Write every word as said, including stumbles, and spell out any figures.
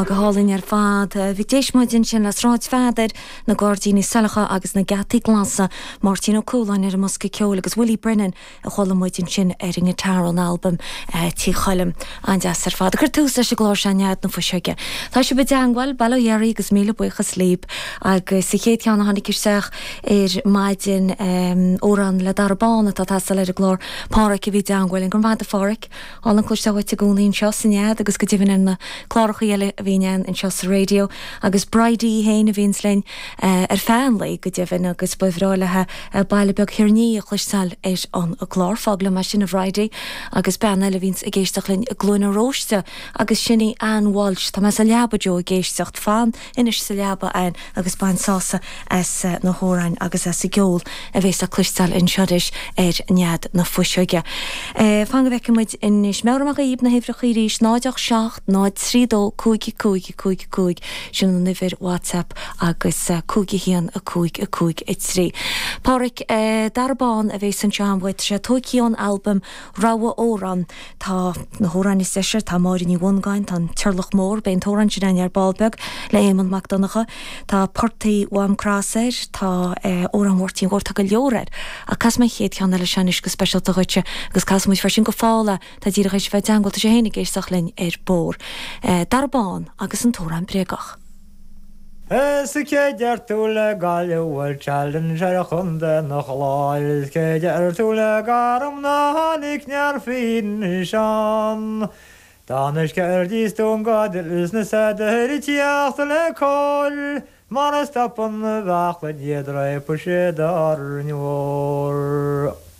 Á go hálainn ar fad. Bhí d'éist muid ansin le Sráid Pheadair, na Gairdíní Saileacha agus na Geataí Glasa, Máirtín Ó Cualáin ar an mbosca ceoil agus Willie Brennan a chuala muid ansin ar an ngiotár ón albam Tí Choilm an-deas ar fad. Chuir tús leis an gclár seo Nead na Fuiseoige. Tá sibh i dteagmháil bail ó Dhia oraibh agus míle buíochas libh agus sa chéad cheann a tháinig isteach ar maidin amhrán le Dara Bán atá ag teastáil ar an gclár Páraic a bhí i dteagmháil linn. Go raibh maith agat a Pháraic álainn cloisteáil uait i gcónaí anseo sa Nead agus go deimhin ar na cláracha eile a bhíonn ann anseo sa raidió agus Bridie féin a bhíonns linn ar feadh an lae go deimhin agus ba bhreá léi Baile Beag Thiarnaí a chloisteáil ar an gclár fág liom é sin a Bhridie agus bean eile a bhíonns ag éisteacht linn i gCluain na Róiste agus sin í Ann Walsh Tá mé sa leaba Joe ag éisteacht fan anois sa leaba Ann agus bain sásamh as na hamhráin agus as an gceol a bhéas le cloisteáil anseo arís ar Nead na Fuiseoige. Fan go bhfeicfidh muid anois meabhraím dhaoibh na huimhreacha arís náid ocht seacht náid trí dó cúig cúig cúig cúig sin an uimhir WhatsApp agus cúig a haon a cúig a cúig a trí. Páraic Dara Bán a bhéas anseo an bhfuil sé tógtha ón albam Rogha Amhrán tá na hamhráin is deise tá Máire Ní Mhongáin tá an Turlach Mór beidh an t-amhrán sin ar ball beag le Éamonn Mac Donncha Tá Portaigh Mhám Cross air tá amhrán Mháirtín Mhóir tá go leor air ach casfaidh mé an chéad cheann eile seo anois go speisialta dhuitse agus casfaidh muid freisin go fála tá díreach tar éis bheith i dteagmháil tá sé féin ag éisteacht linn ar bord. Dara Bán agus an t-amhrán bréagach. Is cé deir tú le Gaillimh bhfuil challenge ar chontae na Chláir is cé deir tú le Garm ná tháinig near fíon. Tánis ceirdíos tú go is na sair teacht le cóil, mar a stopann bheachla iad répa sé dar mhór.